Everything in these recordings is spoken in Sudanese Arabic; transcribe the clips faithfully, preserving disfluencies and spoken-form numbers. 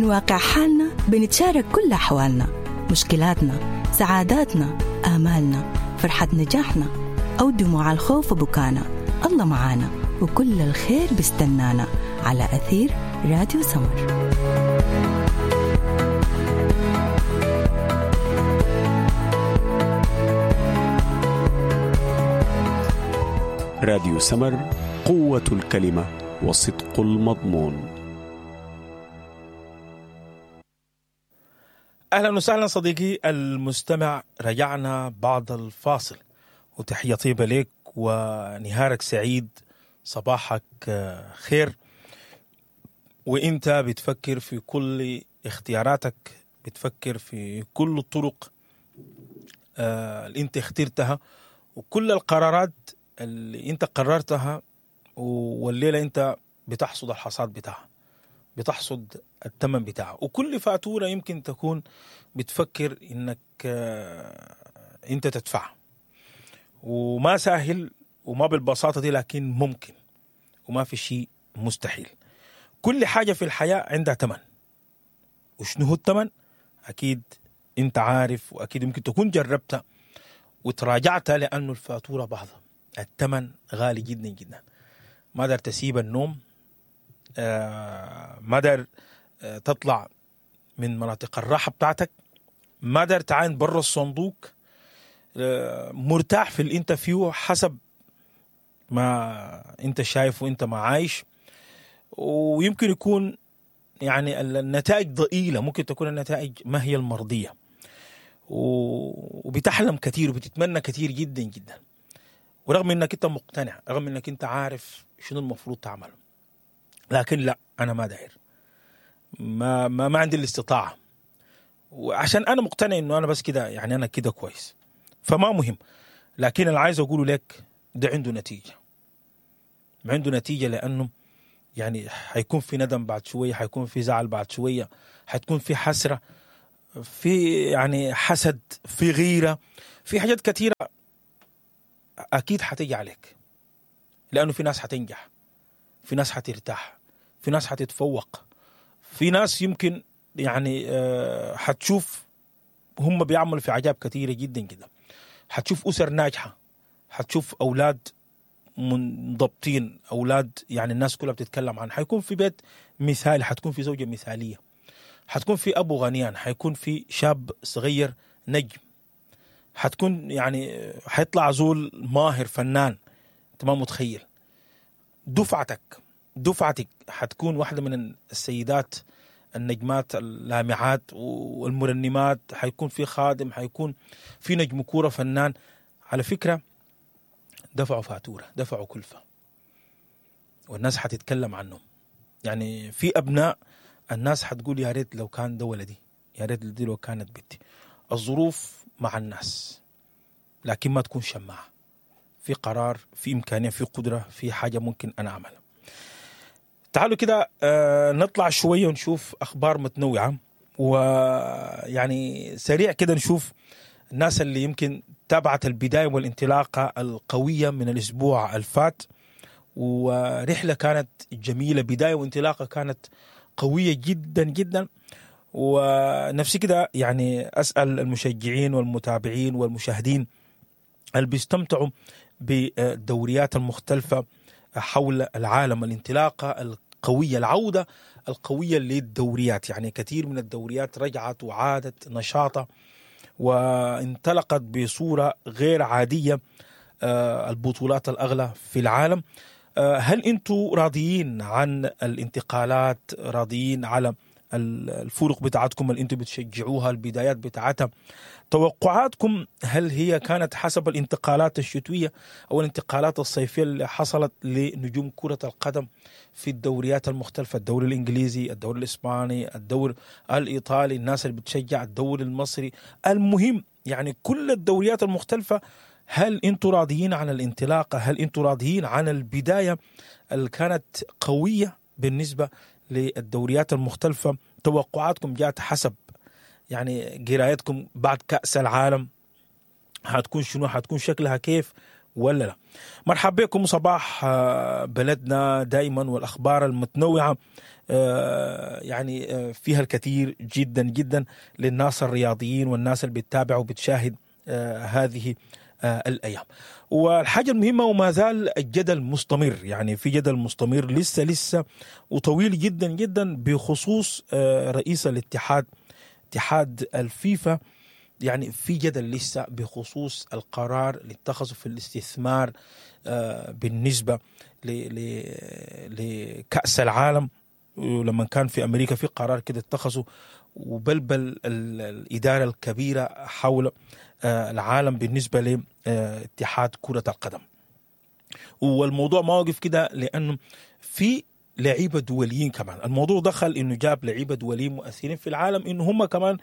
من واقع حالنا بنتشارك كل أحوالنا، مشكلاتنا، سعاداتنا، آمالنا، فرحة نجاحنا أو دموع الخوف وبكانا. الله معانا وكل الخير بستنانا على أثير راديو سمر. راديو سمر، قوة الكلمة وصدق المضمون. أهلا وسهلا صديقي المستمع، رجعنا بعد الفاصل وتحية طيبة لك ونهارك سعيد، صباحك خير. وإنت بتفكر في كل اختياراتك، بتفكر في كل الطرق اللي انت اخترتها وكل القرارات اللي انت قررتها، والليلة انت بتحصد الحصاد بتاعها، بتحصد الثمن بتاعها. وكل فاتورة يمكن تكون بتفكر انك انت تدفعها، وما سهل وما بالبساطة دي، لكن ممكن وما في شيء مستحيل. كل حاجة في الحياة عندها ثمن، وشنو هو الثمن؟ أكيد انت عارف، وأكيد يمكن تكون جربتها وتراجعتها، لأنه الفاتورة بعضها الثمن غالي جدا جدا. ما دار تسيب النوم، آه ما دار آه تطلع من مناطق الراحة بتاعتك، ما دار تعاين برا الصندوق، آه مرتاح في اللي انت فيه حسب ما انت شايف وانت ما عايش. ويمكن يكون يعني النتائج ضئيلة، ممكن تكون النتائج ما هي المرضية، وبتحلم كثير وبتتمنى كثير جدا جدا، ورغم انك انت مقتنع، رغم انك انت عارف شنو المفروض تعمله، لكن لا، انا ما داير، ما ما, ما عندي الاستطاعة، وعشان انا مقتنع انه انا بس كده، يعني انا كده كويس، فما مهم. لكن اللي عايز اقوله لك ده عنده نتيجة، عنده نتيجة، لانه يعني حيكون في ندم بعد شوية، حيكون في زعل بعد شوية، حتكون في حسرة، في يعني حسد، في غيرة، في حاجات كثيرة أكيد حتيجي عليك، لأنه في ناس حتنجح، في ناس حترتاح، في ناس حتتفوق، في ناس يمكن يعني حتشوف هم بيعملوا في عجاب كثيرة جدا جدا، حتشوف أسر ناجحة، حتشوف أولاد منضبطين، أولاد يعني الناس كلها بتتكلم عنه، حيكون في بيت مثالي، حتكون في زوجة مثالية، حتكون في أبو غنيان، حيكون في شاب صغير نجم، حتكون يعني حيطلع زول ماهر فنان، انت ما متخيل. دفعتك دفعتك حتكون واحدة من السيدات النجمات اللامعات والمرنمات، حيكون في خادم، حيكون في نجم كورة فنان. على فكرة دفعوا فاتورة، دفعوا كلفة، والناس حتتكلم عنهم. يعني في أبناء الناس حتقول يا ريت لو كان ده ولدي، يا ريت دي لو كانت بنتي. الظروف مع الناس، لكن ما تكون شماعة. في قرار، في إمكانية، في قدرة، في حاجة ممكن أنا أعملها. تعالوا كده آه نطلع شوية ونشوف أخبار متنوعة، ويعني سريع كده نشوف الناس اللي يمكن تابعت البداية والانطلاقة القوية من الأسبوع الفات، ورحلة كانت جميلة، بداية وانطلاقة كانت قوية جدا جدا. ونفسي كده يعني أسأل المشجعين والمتابعين والمشاهدين اللي بيستمتعوا بالدوريات المختلفة حول العالم، الانطلاقة القوية، العودة القوية للدوريات. يعني كثير من الدوريات رجعت وعادت نشاطة وانطلقت بصورة غير عادية، البطولات الأغلى في العالم. هل أنتم راضيين عن الانتقالات؟ راضيين على الفرق بتاعتكم اللي انتم بتشجعوها، البدايات بتاعتها؟ توقعاتكم هل هي كانت حسب الانتقالات الشتوية أو الانتقالات الصيفية اللي حصلت لنجوم كرة القدم في الدوريات المختلفة، الدوري الإنجليزي، الدوري الإسباني، الدوري الإيطالي، الناس اللي بتشجع الدوري المصري، المهم يعني كل الدوريات المختلفة، هل انتم راضيين عن الانطلاقة؟ هل انتم راضيين عن البداية اللي كانت قوية بالنسبة للدوريات المختلفة؟ توقعاتكم جاءت حسب يعني قرايتكم بعد كأس العالم هتكون شنو، هتكون شكلها كيف ولا لا؟ مرحبا بكم صباح بلدنا دائما والأخبار المتنوعة آه، يعني آه، فيها الكثير جدا جدا للناس الرياضيين والناس اللي بتتابع وبتشاهد آه، هذه آه، الايام. والحاجة المهمة، وما زال الجدل مستمر، يعني في جدل مستمر لسه لسه وطويل جدا جدا بخصوص آه، رئيس الاتحاد، اتحاد الفيفا. يعني في جدل لسه بخصوص القرار اللي اتخذه في الاستثمار آه، بالنسبة ل- ل- لكأس العالم، ولما كان في امريكا في قرار كده اتخذه وبلبل ال- الادارة الكبيرة حول آه، العالم بالنسبة لاتحاد كره القدم. والموضوع ما وقف كده، لانه في لعيبة دوليين كمان الموضوع دخل، انه جاب لعيبة دوليين مؤثرين في العالم انه هم كمان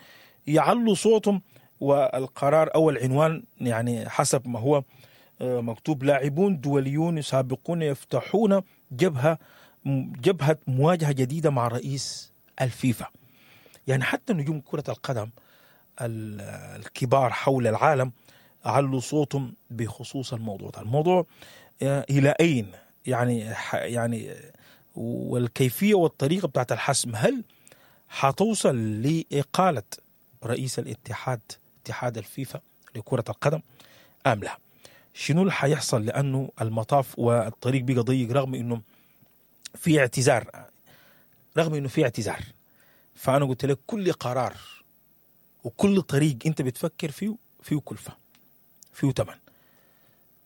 يعلوا صوتهم. والقرار او العنوان يعني حسب ما هو آه، مكتوب: لاعبون دوليون سابقون يفتحون جبهة جبهة مواجهة جديدة مع رئيس الفيفا. يعني حتى نجوم كره القدم ال- الكبار حول العالم علوا صوتهم بخصوص الموضوع ده. الموضوع آه، الى اين يعني ح- يعني والكيفية والطريقة بتاعت الحسم، هل حتوصل لاقاله رئيس الاتحاد، اتحاد الفيفا لكرة القدم، ام لا؟ شنو اللي حيحصل؟ لانه المطاف والطريق بقى ضيق، رغم انه في اعتذار، رغم انه في اعتذار. فانا قلت لك كل قرار وكل طريق انت بتفكر فيه فيه كلفه، فيه ثمن،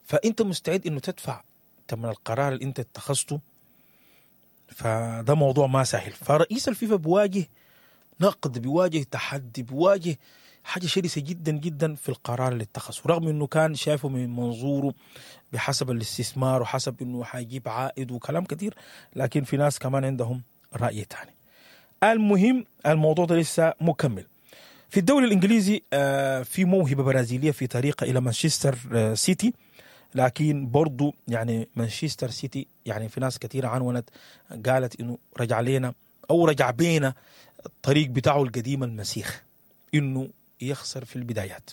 فانت مستعد انه تدفع ثمن القرار اللي انت اتخذته. فده موضوع ما سهل. فرئيس الفيفا بيواجه نقد، بيواجه تحدي، بيواجه حاجة شرسة جدا جدا في القرار اللي اتخذه، رغم انه كان شايفه من منظوره بحسب الاستثمار وحسب انه حيجيب عائد وكلام كثير، لكن في ناس كمان عندهم راي ثاني. المهم الموضوع ده لسه مكمل. في الدوري الانجليزي آه، في موهبة برازيليه في طريقه الى مانشستر آه، سيتي، لكن برضو يعني مانشستر سيتي يعني في ناس كثيرة عنونت قالت انه رجع لنا او رجع بينا الطريق بتاعه القديم المسيخ، انه يخسر في البدايات.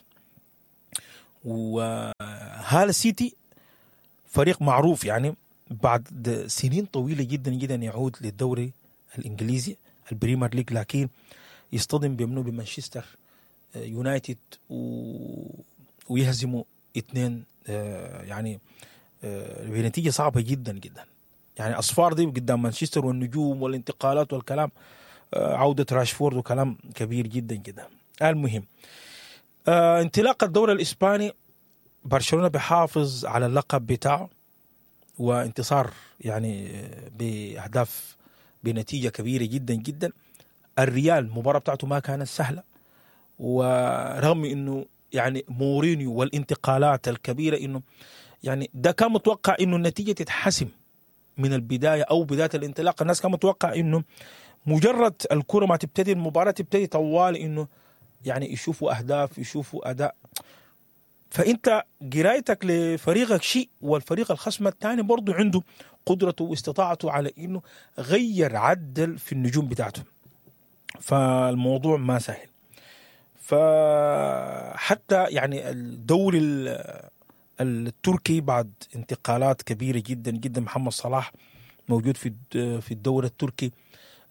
وهال سيتي فريق معروف، يعني بعد سنين طويلة جدا جدا يعود للدوري الانجليزي البريمير ليج، لكن يصطدم بمنو؟ بمانشستر يونايتد و... ويهزموا اثنين، آه، يعني آه، بنتيجة صعبة جدا جدا. يعني اصفار دي قدام مانشستر والنجوم والانتقالات والكلام، آه، عوده راشفورد وكلام كبير جدا جدا. المهم آه، انطلاق الدوري الاسباني، برشلونة بيحافظ على اللقب بتاعه وانتصار يعني آه، باهداف بنتيجة كبيرة جدا جدا. الريال المباراة بتاعته ما كانت سهلة، ورغم انه يعني مورينيو والانتقالات الكبيرة، انه يعني ده كان متوقع انه النتيجة تتحسم من البداية او بداية الانطلاق. الناس كان متوقع انه مجرد الكره ما تبتدي، المباراة تبتدي طوال، انه يعني يشوفوا اهداف، يشوفوا اداء. فانت قرايتك لفريقك شيء، والفريق الخصم الثاني برضه عنده قدرته واستطاعته على انه غير عدل في النجوم بتاعته. فالموضوع ما سهل. فحتى يعني الدوري ال- التركي بعد انتقالات كبيرة جدا جدا، محمد صلاح موجود في الد- في الدوري التركي،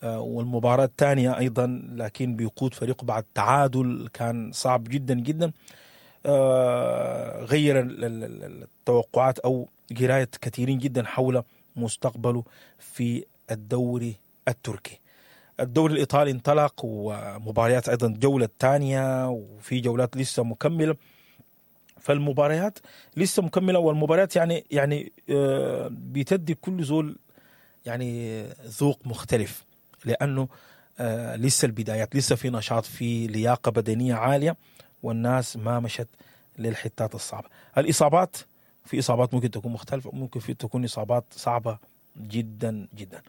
آه، والمباراة الثانية أيضا، لكن بيقود فريقه بعد تعادل كان صعب جدا جدا، آه، غير ال- ال- ال- التوقعات أو قراية كثيرين جدا حول مستقبله في الدوري التركي. الدوري الإيطالي انطلق، ومباريات أيضا الجولة الثانية، وفي جولات لسه مكملة. فالمباريات لسه مكملة، والمباريات يعني يعني آه، بتدي كل زول يعني ذوق مختلف، لأنه آه، لسه البدايات، لسه في نشاط، في لياقة بدنية عالية، والناس ما مشت للحتات الصعبة. الإصابات، في إصابات ممكن تكون مختلفة، ممكن في تكون إصابات صعبة جدا جدا.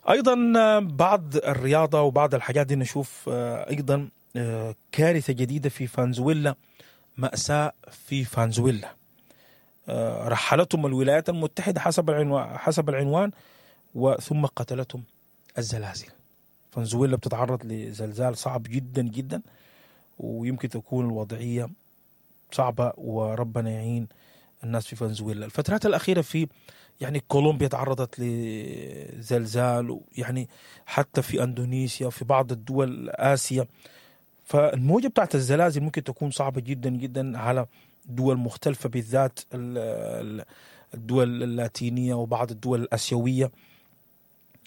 ايضا آه، بعض الرياضة وبعض الحاجات دي نشوف آه، ايضا آه، كارثة جديدة في فنزويلا، ماساة في فنزويلا، آه، رحلتهم الولايات المتحدة حسب العنوان، حسب العنوان وثم قتلتهم الزلازل. فنزويلا بتتعرض لزلزال صعب جدا جدا، ويمكن تكون الوضعية صعبة، وربنا يعين الناس في فنزويلا. الفترات الأخيرة في يعني كولومبيا تعرضت لزلزال، يعني حتى في أندونيسيا وفي بعض الدول آسيا. فالموجة بتاعت الزلازل ممكن تكون صعبة جدا جدا على دول مختلفة، بالذات الدول اللاتينية وبعض الدول الآسيوية.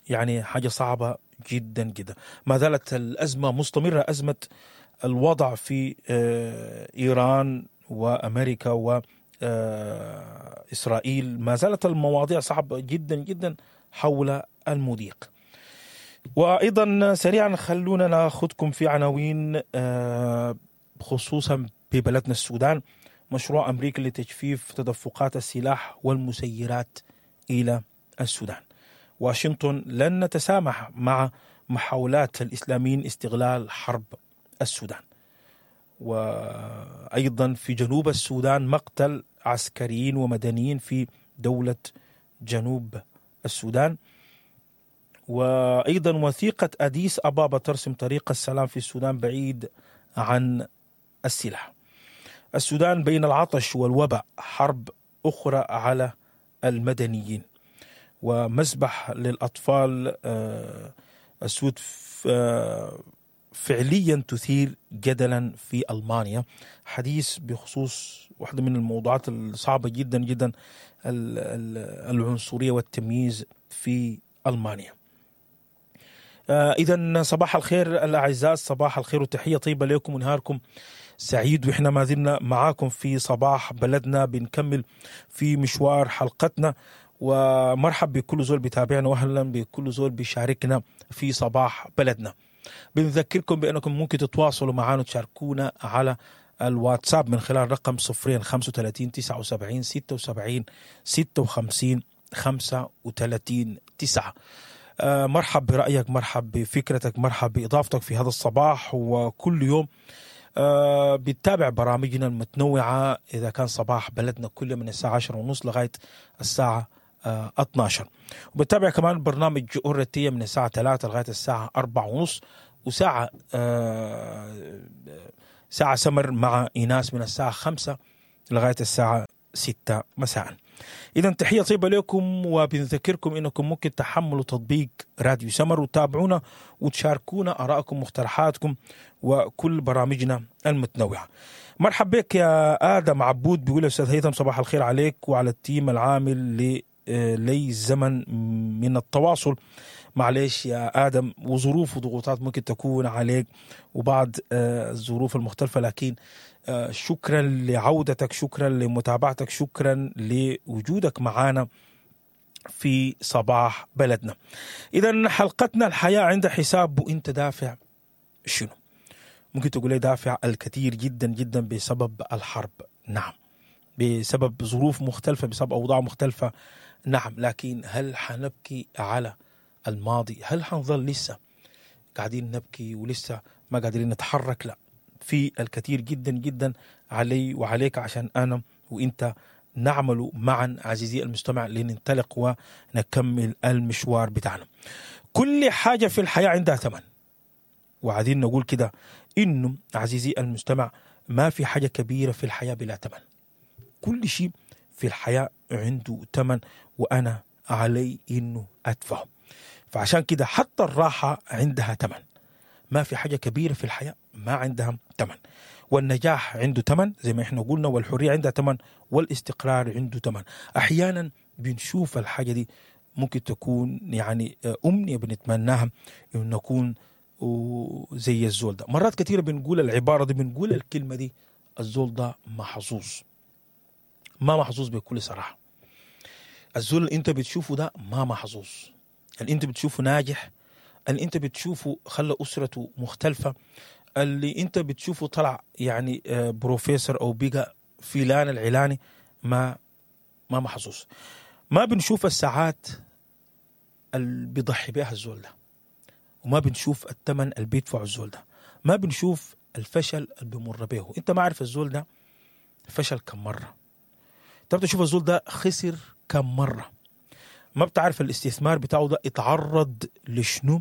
يعني حاجة صعبة جدا جدا. ما زالت الأزمة مستمرة، أزمة الوضع في إيران وأمريكا وإسرائيل، ما زالت المواضيع صعبة جدا جدا حول المضيق. وأيضا سريعا خلونا ناخذكم في عناوين خصوصا ببلدنا السودان. مشروع أمريكا لتجفيف تدفقات السلاح والمسيرات إلى السودان. واشنطن لن نتسامح مع محاولات الإسلاميين استغلال حرب السودان. وأيضا في جنوب السودان مقتل عسكريين ومدنيين في دولة جنوب السودان. وأيضا وثيقة أديس أبابا ترسم طريق السلام في السودان بعيد عن السلاح. السودان بين العطش والوباء، حرب أخرى على المدنيين. ومسبح للأطفال السود فعليا تثير جدلا في ألمانيا. حديث بخصوص واحدة من الموضوعات الصعبة جدا جدا، العنصرية والتمييز في ألمانيا. إذن صباح الخير الأعزاء، صباح الخير وتحية طيبة لكم ونهاركم سعيد. وإحنا ما زلنا معاكم في صباح بلدنا، بنكمل في مشوار حلقتنا. ومرحب بكل زول بيتابعنا، واهلا بكل زول بيشاركنا في صباح بلدنا. بنذكركم بأنكم ممكن تتواصلوا معنا وتشاركونا على الواتساب من خلال رقم صفرين خمسة وثلاثين تسعة وسبعين ستة وسبعين ستة وخمسين خمسة وثلاثين تسعة. مرحب برأيك، مرحب بفكرتك، مرحب بإضافتك في هذا الصباح. وكل يوم بتتابع برامجنا المتنوعة، إذا كان صباح بلدنا كل من الساعة عشرة ونص لغاية الساعة اثناشر، وبتابع كمان برنامج أورتية من الساعة ثلاثة لغاية الساعة أربعة ونص، وساعة ساعة سمر مع إيناس من الساعة خمسة لغاية الساعة ستة مساء. إذا تحية طيبة لكم، وبنذكركم إنكم ممكن تحملوا تطبيق راديو سمر وتابعونا وتشاركونا آرائكم مقترحاتكم وكل برامجنا المتنوعة. مرحب بك يا آدم عبود، بيقول أستاذ هيثم صباح الخير عليك وعلى التيم العامل ل لي زمن من التواصل. معلش يا آدم، وظروف وضغوطات ممكن تكون عليك وبعض الظروف المختلفة، لكن شكرا لعودتك، شكرا لمتابعتك، شكرا لوجودك معنا في صباح بلدنا. إذا حلقتنا الحياة عند حساب وانت دافع شنو؟ ممكن تقول لي دافع الكثير جدا جدا بسبب الحرب، نعم، بسبب ظروف مختلفة، بسبب أوضاع مختلفة، نعم، لكن هل حنبكي على الماضي؟ هل حنظل لسه قاعدين نبكي ولسه ما قادرين نتحرك؟ لا، في الكثير جدا جدا علي وعليك عشان أنا وإنت نعمل معا عزيزي المستمع لننطلق ونكمل المشوار بتاعنا. كل حاجة في الحياة عندها ثمن، وعايزين نقول كده إنه عزيزي المستمع ما في حاجة كبيرة في الحياة بلا ثمن. كل شيء في الحياة عنده ثمن، وأنا علي إنه أدفعه. فعشان كده حتى الراحة عندها ثمن. ما في حاجة كبيرة في الحياة ما عندها ثمن. والنجاح عنده ثمن زي ما احنا قلنا، والحرية عندها ثمن، والاستقرار عنده ثمن. أحيانا بنشوف الحاجة دي ممكن تكون يعني أمنية بنتمناها إنه نكون زي الزول ده. مرات كثيرة بنقول العبارة دي، بنقول الكلمة دي، الزول ده محظوظ. ما محظوظ بكل صراحة. الزول اللي انت بتشوفه ده ما محظوظ. اللي انت بتشوفه ناجح، اللي انت بتشوفه خلى أسرته مختلفة، اللي انت بتشوفه طلع يعني بروفيسور او بقى فلان العلاني، ما ما محظوظ. ما بنشوف الساعات اللي بيضحي بها الزول ده، وما بنشوف الثمن اللي بيدفعه الزول ده، ما بنشوف الفشل اللي بيمر به. انت ما عارف الزول ده فشل كم مرة، انت بتشوف الزول ده خسر كم مرة، ما بتعرف الاستثمار بتاعه ده اتعرض لشنو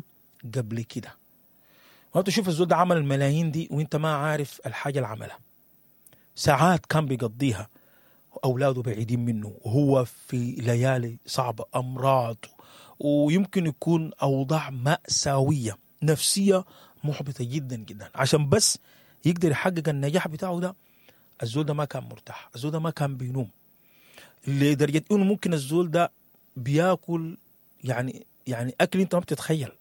قبل كده، ما بتشوف الزول ده عمل الملايين دي وانت ما عارف الحاجة اللي عملها. ساعات كان بيقضيها أولاده بعيدين منه، وهو في ليالي صعبة، أمراض، ويمكن يكون أوضاع مأساوية نفسية محبطة جدا جدا، عشان بس يقدر يحقق النجاح بتاعه ده. الزول ده ما كان مرتاح، الزول ده ما كان بينوم، لدرجة إنه ممكن الزول ده بياكل يعني يعني أكل أنت ما بتتخيل،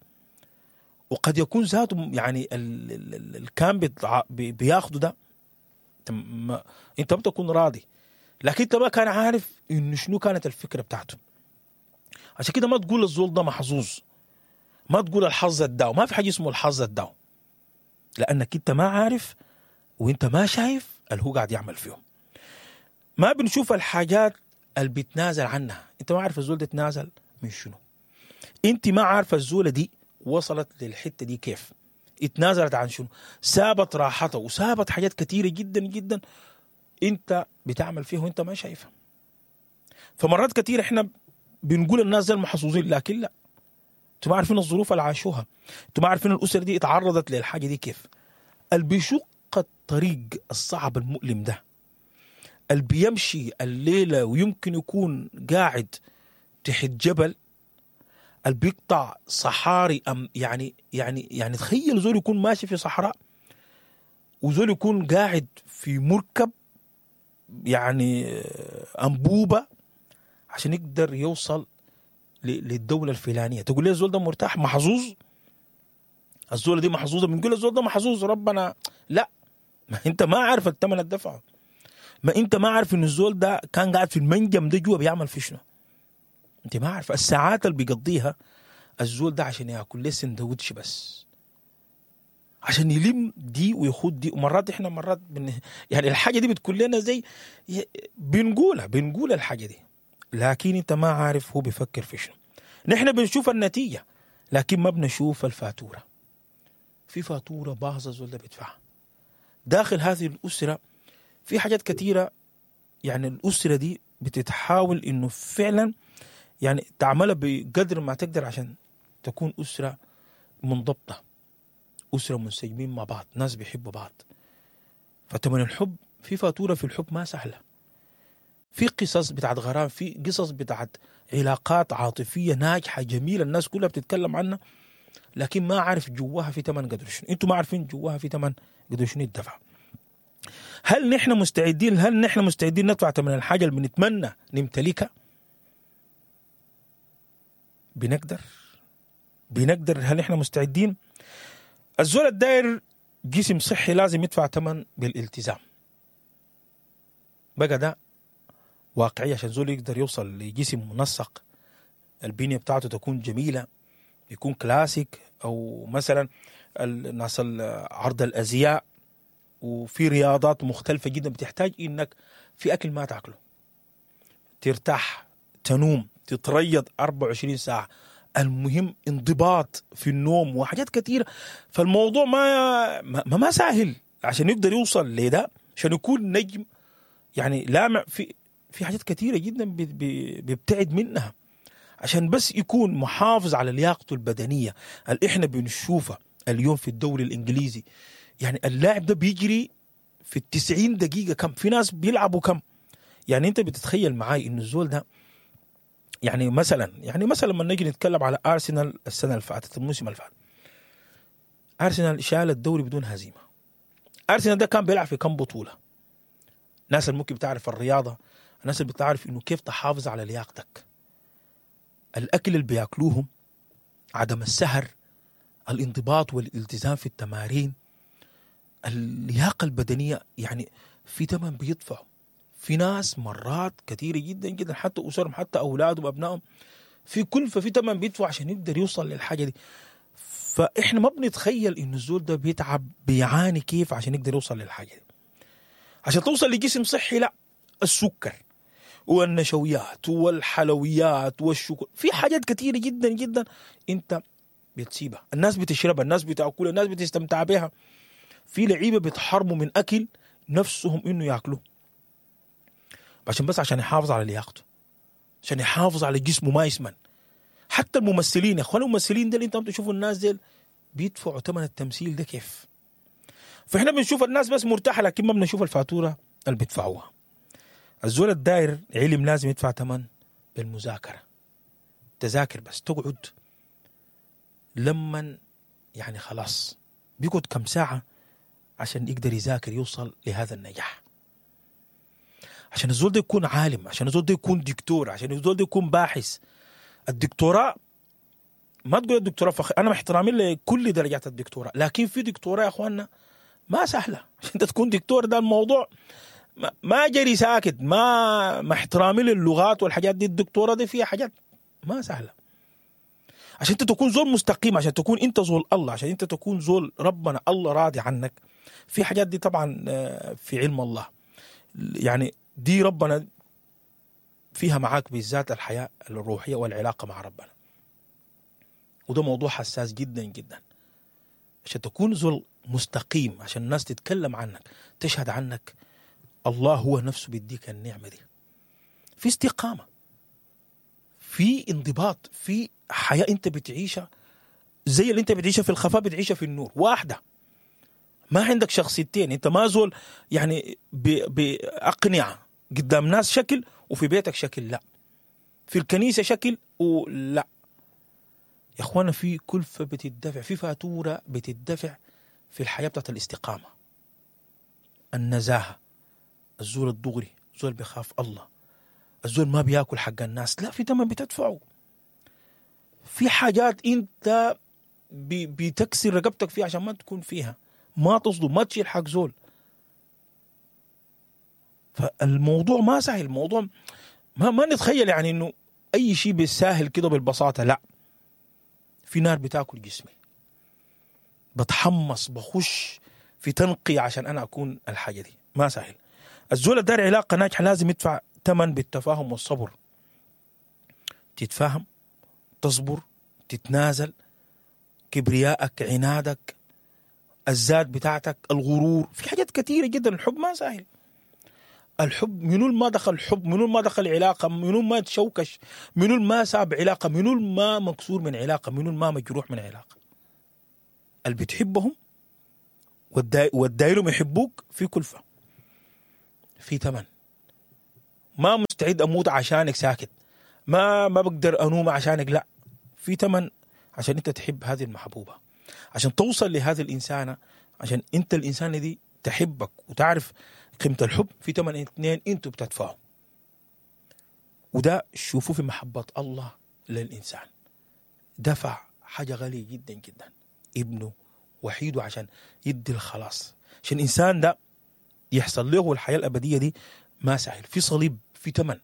وقد يكون ذاته يعني اللي كان بياخده ده أنت ما بتكون راضي، لكن أنت ما كان عارف إنه شنو كانت الفكرة بتاعته. عشان كده ما تقول الزول ده محظوظ، ما تقول الحظ الداو، ما في حاجة اسمه الحظ الداو، لأنك أنت ما عارف وأنت ما شايف اللي هو قاعد يعمل فيهم. ما بنشوف الحاجات اللي بتنازل عنها، أنت ما عارف الزول ده تنازل من شنو، أنت ما عارف الزولة دي وصلت للحتة دي كيف، اتنازلت عن شنو، سابت راحتها وسابت حاجات كثيرة جدا جدا أنت بتعمل فيها وأنت ما شايفها. فمرات كثيرة إحنا بنقول الناس دي المحظوظين، لكن لا، انتوا ما عارفين الظروف اللي عاشوها، انتوا ما عارفين الأسر دي اتعرضت للحاجة دي كيف. اللي بيشق الطريق الصعب المؤلم ده، اللي بيمشي الليلة ويمكن يكون قاعد تحت جبل، اللي بيقطع صحاري، أم يعني يعني يعني تخيل زول يكون ماشي في صحراء وزول يكون قاعد في مركب يعني أنبوبة عشان يقدر يوصل للدولة الفلانية. تقول لي الزول ده مرتاح محظوظ، الزولة دي محظوظة، بنقول الزول ده محظوظ ربنا، لا، ما انت ما عارف الثمن الدفعة، ما انت ما عارف ان الزول ده كان قاعد في المنجم ده جوا بيعمل في شنو، انت ما عارف الساعات اللي بيقضيها الزول ده عشان ياكل له سندوتش بس، عشان يلم دي ويخد دي. ومرات احنا مرات بن... يعني الحاجة دي بتكون لنا زي بنقولها بنقول الحاجة دي، لكن انت ما عارف هو بيفكر في شنو. نحن بنشوف النتيجة لكن ما بنشوف الفاتورة. في فاتورة باهظة الزول ده بيدفعها داخل هذه الأسرة. في حاجات كثيرة يعني الأسرة دي بتتحاول إنه فعلا يعني تعملها بقدر ما تقدر عشان تكون أسرة منضبطة، أسرة منسجمين مع بعض، ناس بيحبوا بعض. فتمن الحب، في فاتورة في الحب ما سهلة، في قصص بتاعت غرام، في قصص بتاعت علاقات عاطفية ناجحة جميلة الناس كلها بتتكلم عنها، لكن ما عارف جواها في تمن قدر شنو. انتوا ما عارفين جواها في تمن قدر شنو الدفع. هل نحن مستعدين؟ هل نحن مستعدين ندفع ثمن الحاجة اللي بنتمنى نمتلكها؟ بنقدر بنقدر هل نحن مستعدين؟ الزول الداير جسم صحي لازم يدفع ثمن بالالتزام. بقى ده واقعية عشان زول يقدر يوصل لجسم منسق، البنية بتاعته تكون جميلة، يكون كلاسيك، أو مثلا الناس عرض الأزياء، وفي رياضات مختلفة جدا بتحتاج إنك في أكل ما تأكله، ترتاح، تنوم، تتريض أربعة وعشرين ساعة، المهم انضباط في النوم وحاجات كثيرة. فالموضوع ما ما, ما سهل عشان يقدر يوصل لده، عشان يكون نجم يعني لامع في في حاجات كثيرة جدا بيبتعد منها عشان بس يكون محافظ على لياقته البدنية اللي احنا بنشوفها اليوم في الدوري الإنجليزي. يعني اللاعب ده بيجري في التسعين دقيقة كم، في ناس بيلعبوا كم. يعني انت بتتخيل معاي انه الزول ده يعني مثلا يعني مثلا لما نجي نتكلم على أرسنال السنة اللي فاتت، الموسم اللي فات، أرسنال شال الدوري بدون هزيمة. أرسنال ده كان بيلعب في كم بطولة؟ الناس اللي ممكن بتعرف الرياضة، الناس اللي بتعرف انه كيف تحافظ على لياقتك، الأكل اللي بياكلوهم، عدم السهر، الانضباط والالتزام في التمارين، اللياقة البدنية، يعني في ثمن بيدفعوا. في ناس مرات كثيرة جدا جدا حتى أسرهم، حتى أولادهم، أبنائهم، في كلفة، في ثمن بيدفعوا عشان يقدر يوصل للحاجة دي. فإحنا ما بنتخيل إنه الزول ده بيتعب، بيعاني كيف عشان يقدر يوصل للحاجة دي. عشان توصل لجسم صحي، لا، السكر والنشويات والحلويات والشكر، في حاجات كثيرة جدا جدا انت بتسيبها، الناس بتشربها، الناس بتاكلها، الناس بتستمتع بها. في لعيبة بيتحرموا من أكل نفسهم إنه ياكلوه عشان بس عشان يحافظ على لياقته، عشان يحافظ على جسمه ما يسمن. حتى الممثلين يا اخوان، الممثلين ده اللي انتم تشوفوا الناس دي بيدفعوا ثمن التمثيل ده كيف. فاحنا بنشوف الناس بس مرتاحة، لكن ما بنشوف الفاتورة اللي بيدفعوها. الزول الداير علم لازم يدفع ثمن بالمذاكرة. تذاكر بس، تقعد لما يعني خلاص بيقعد كم ساعة عشان يقدر يذاكر يوصل لهذا النجاح. عشان الزول ده يكون عالم، عشان الزول ده يكون دكتور، عشان الزول ده يكون باحث. الدكتوراه ما تقول الدكتوراه فخ... انا مع احترامي لكل درجات الدكتوراه، لكن في دكتوراه يا اخواننا ما سهلة. عشان انت تكون دكتور ده الموضوع ما, ما جري ساكت، ما مع احترامي للغات والحاجات دي، الدكتوراه دي فيها حاجات ما سهلة. عشان انت تكون زول مستقيم، عشان تكون انت زول الله، عشان انت تكون زول ربنا الله راضي عنك، في حاجات دي طبعا في علم الله، يعني دي ربنا فيها معاك بالذات الحياة الروحية والعلاقة مع ربنا. وده موضوع حساس جدا جدا. عشان تكون زول مستقيم، عشان الناس تتكلم عنك، تشهد عنك، الله هو نفسه بيديك النعمة دي. في استقامة، في انضباط، في حياة انت بتعيشها زي اللي انت بتعيشها في الخفاء بتعيشها في النور، واحدة. ما عندك شخصيتين، انت ما زول يعني بأقنعة قدام ناس شكل وفي بيتك شكل، لا، في الكنيسة شكل ولا. يا اخوانا في كلفة بتدفع، في فاتورة بتدفع في الحياة بتاعت الاستقامة، النزاهة، الزول الدغري، الزول بيخاف الله، الزول ما بياكل حق الناس، لا، في ثمن بتدفعه. في حاجات انت بتكسر رقبتك فيها عشان ما تكون فيها، ما تصدم، ما تشيل حق زول. فالموضوع ما سهل، الموضوع ما ما نتخيل يعني انه اي شيء بالساهل كده بالبساطة، لا. في نار بتاكل جسمي، بتحمص، بخش في تنقي عشان انا اكون الحاجة دي، ما سهل. الزول الدار علاقة ناجحة لازم يدفع ثمن بالتفاهم والصبر. تتفاهم، تصبر، تتنازل، كبريائك، عنادك، الذات بتاعتك، الغرور، في حاجات كثيرة جدا. الحب ما سهل. الحب منو ما دخل حب، منو ما دخل علاقة، منو ما تشوكش، منو ما ساب علاقة، منو ما مكسور من علاقة، منو ما مجروح من علاقة. اللي بتحبهم والدايرهم يحبوك في كلفة، في ثمن. ما مستعد أموت عشانك ساكت، ما ما بقدر أنوم عشانك، لا، في ثمن عشان أنت تحب هذه المحبوبة، عشان توصل لهذه الإنسانة، عشان أنت الإنسانة دي تحبك وتعرف قيمة الحب. في ثمن اثنين أنتوا بتدفعوا، وده شوفوا في محبة الله للإنسان، دفع حاجة غالية جدا جدا، ابنه وحيده عشان يدي الخلاص، عشان الإنسان ده يحصل له الحياة الأبدية دي. ما سهل، في صليب، في ثمن.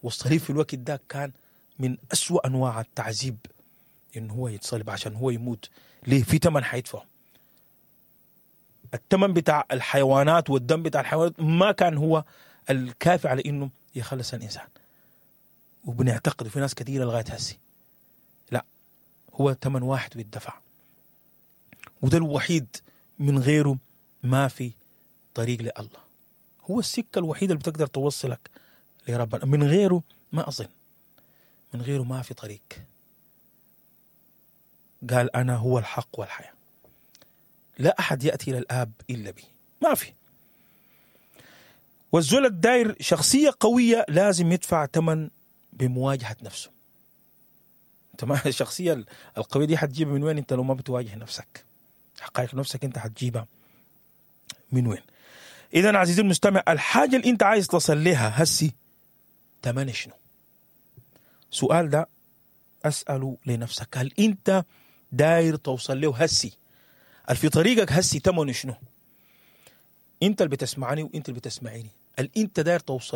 والصليب في الوقت ده كان من أسوأ أنواع التعذيب، إنه هو يتصلب عشان هو يموت. ليه؟ في ثمن حيدفعه. الثمن بتاع الحيوانات والدم بتاع الحيوانات ما كان هو الكافي على إنه يخلص الإنسان. وبنعتقد في ناس كثيرة لغاية هسي لا، هو ثمن واحد بيدفع، وده الوحيد، من غيره ما في طريق لله. هو السكة الوحيدة اللي بتقدر توصلك لربنا، من غيره ما أظن، من غيره ما في طريق. قال أنا هو الحق والحياة، لا أحد يأتي إلى الآب إلا بي، ما في. والزول الداير شخصية قوية لازم يدفع ثمن بمواجهة نفسه. أنت ما الشخصية القوية دي حتجيبها من وين أنت لو ما بتواجه نفسك؟ حقائق نفسك أنت حتجيبها من وين؟ إذن عزيزي المستمع، الحاجة اللي أنت عايز تصل لها هسي ثمن شنو؟ سؤال ده أسأله لنفسك، هل أنت داير توصل له هسي؟ في طريقك هسي ثمن شنو؟ أنت اللي بتسمعني وأنت اللي بتسمعيني، اللي أنت داير توصل